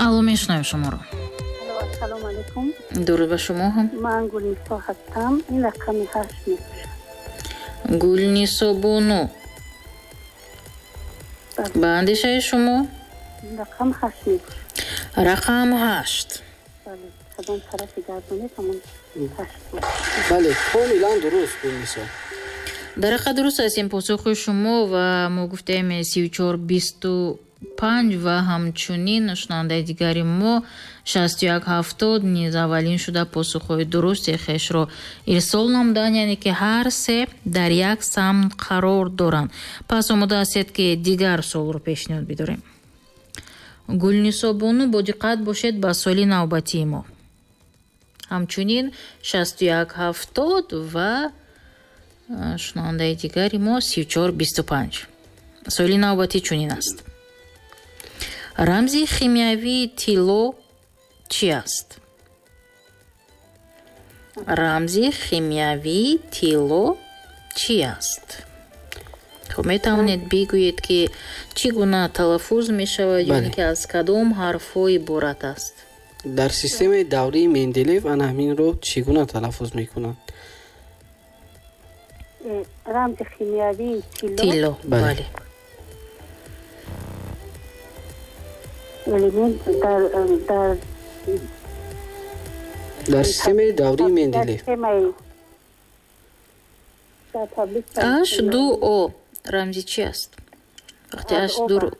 Алло, мешунавем шуморо. Ассалому алайкум. Дуруд ба шумо ҳам. Ман Гулнисо ҳастам. Ин рақами 8 мебошад. Гулнисо бону, ба андешаи шумо рақам 8 мебошад. Рақам 8. Бале, кадом тарафи гардонед, ҳамон 8 буд. Бале, комилан дуруст, Гулнисо. Дар ҳақиқат дуруст аст ин посухи шумо ва мо гуфтаем 34-25 ва ҳамчунин шунавандаи дигари мо 61-70 низ аввалин шуда посухҳои дурусти хешро ирсол намуданд, яъне ки ҳар се дар як самт қарор доранд. Пас омода ҳастед, ки дигар суолро пешниҳод бидорем. Гулнисо бону, бо диққат бошед ба суоли навбатии мо. Ҳамчунин 61-70 ва шунавандаи дигари мо 34-25. Суоли навбатӣ чунин аст. Рамзи химиявии тилло чӣ аст? Рамзи химиявии тилло чӣ аст? Хуб, метавонед бигӯед, ки чӣ гуна талаффуз мешавад ё ин ки аз кадом ҳарфҳо иборат аст? Дар системаи даврии Менделеев ана ҳаминро чӣ гуна талаффуз мекунанд? Рамзи химиявии тилло? Тилло, бале. Элемент дар системаи даврии Менделеев. H2O рамзи чи аст? Вақте H2,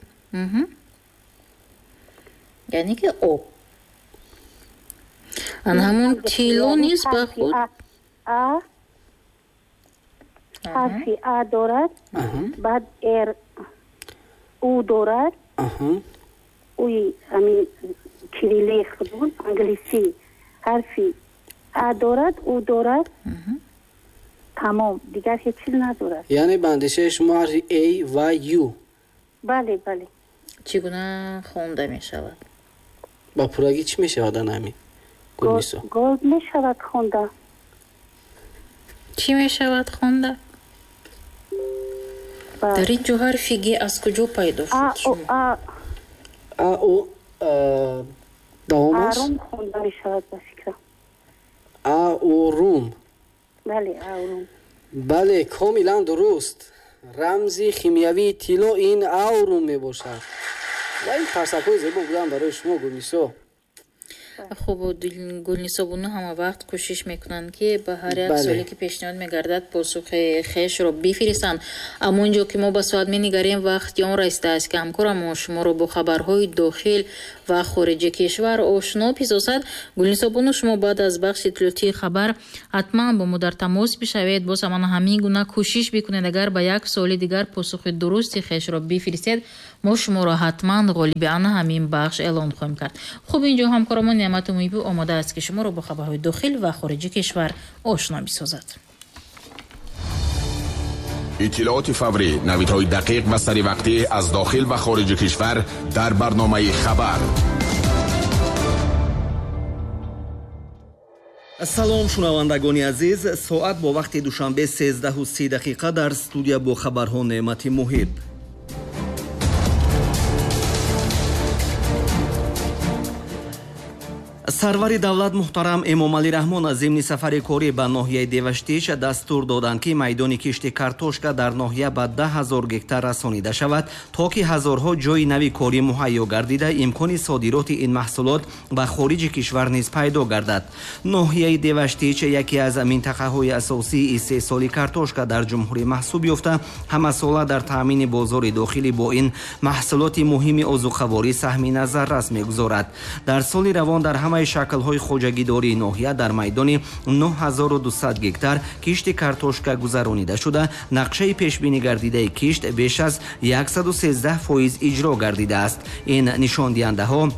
яъне ки об. Ана ҳамон тилло низ ба худ А, ҳарфи А дорад, баъд Р, У дорад, уи ҳамин кириллии худмон англисӣ ҳарфи А дорад, У дорад, тамом, дигар ҳеҷ чиз надорад. Яъне ба андешаи шумо ҳарфи А ва Ю? Бале, бале. Чӣ гуна хонда мешавад? Ба пуррагӣ чӣ мешавад ана ҳамин, Гулнисо? Gold мешавад хонда. Чӣ мешавад хонда? Дар ин ҷо ҳарфи Г аз куҷо пайдо шуд? А, А, О, давом аст? Арум хонда мешавад, ба фикрам. А, О, Рум. Бале, аурум. Бале, комилан дуруст. Рамзи химиявии тилло ин аурум мебошад. Ва ин қарсакҳои зебо буданд барои шумо, Гулнисо. Хуб, Гулнисо бону ҳама вақт кӯшиш мекунанд, ки ба ҳар як суоле, ки пешниҳод мегардад, посухи хешро бифиристанд. Аммо ин ҷо ки мо ба соат менигарем, вақти он расидааст, ки ҳамкорамон шуморо бо хабарҳои дохил ва хориҷи кишвар ошно бисозад. Гулнисо бону, шумо баъд аз бахши иттилоотии хабар ҳатман бо мо дар тамос бишавед. Боз ҳамана ҳамин гуна кӯшиш бикунед. Агар ба як суоли дигар посухи дурусти хешро бифиристед, мо шуморо ҳатман ғолиби ана ҳамин бахш эълон хоҳем кард. Хуб, ин ҷо ҳамкорамон Неъмату Муҳибӣ омода аст, ки шуморо бо хабарҳои дохил ва хориҷи кишвар ошно бисозад. Иттилооти фаврӣ, навидҳои дақиқ ва саривақтӣ аз дохил ва хориҷи кишвар дар барномаи «Хабар». Салом, шунавандагони азиз. Соат бо вақти Душанбе 13:30, дар студия бо хабарҳо Неъмати Муҳиб. Сарвари давлат муҳтарам Эмомалӣ Раҳмон зимни сафари корӣ ба ноҳияи Деваштич дастур доданд, ки майдони кишти картошка дар ноҳия ба 10 000 гектар расонида шавад, то ки ҳазорҳо ҷойи нави корӣ муҳайё гардида, имкони содироти ин маҳсулот ба хориҷи кишвар низ пайдо гардад. Ноҳияи Деваштич яке аз минтақаҳои асосии истеҳсоли картошка дар ҷумҳурӣ маҳсуб ёфта, ҳамасола дар таъмини бозори дохилӣ бо ин маҳсулоти муҳими озуқаворӣ саҳми назаррас мегузорад. Дар соли равон дар ҳамаи шаклҳои хоҷагидории ноҳия дар майдони 9200 гектар кишти картошка гузаронида шуда, нақшаи пешбинӣ гардидаи кишт беш аз 113% иҷро гардидааст. Ин нишондиҳандаҳо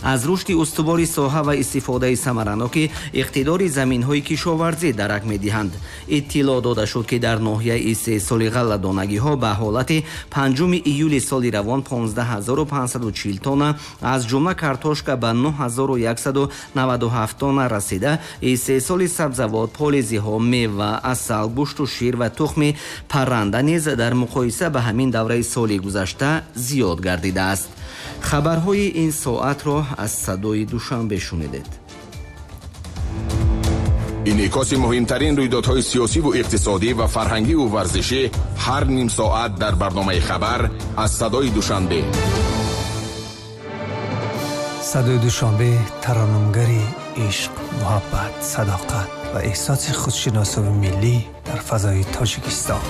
аз рушди устувори соҳа ва истифодаи самараноки иқтидори заминҳои кишоварзӣ дарак медиҳанд. Иттилоъ дода шуд, ки дар ноҳияи истеҳсоли ғалладонагиҳо ба ҳолати 5 июли соли равон 15 540 тонна, аз ҷумла картошка ба 9197 тонна расида, истеҳсоли сабзавот, полизиҳо, мева, асал, гӯшту шир ва тухми парранда низ дар муқоиса ба ҳамин давраи соли гузашта зиёд гардидааст. Хабарҳои ин соатро аз Садои Душанбе шунидед. Инъикоси муҳимтарин рӯйдодҳои сиёсиву иқтисодӣ ва фарҳангиву варзишӣ ҳар ним соат дар барномаи «Хабар» аз Садои Душанбе. Садои Душанбе тараннумгари ишқ, муҳаббат, садоқат ва эҳсоси худшиносии миллӣ дар фазои Тоҷикистон.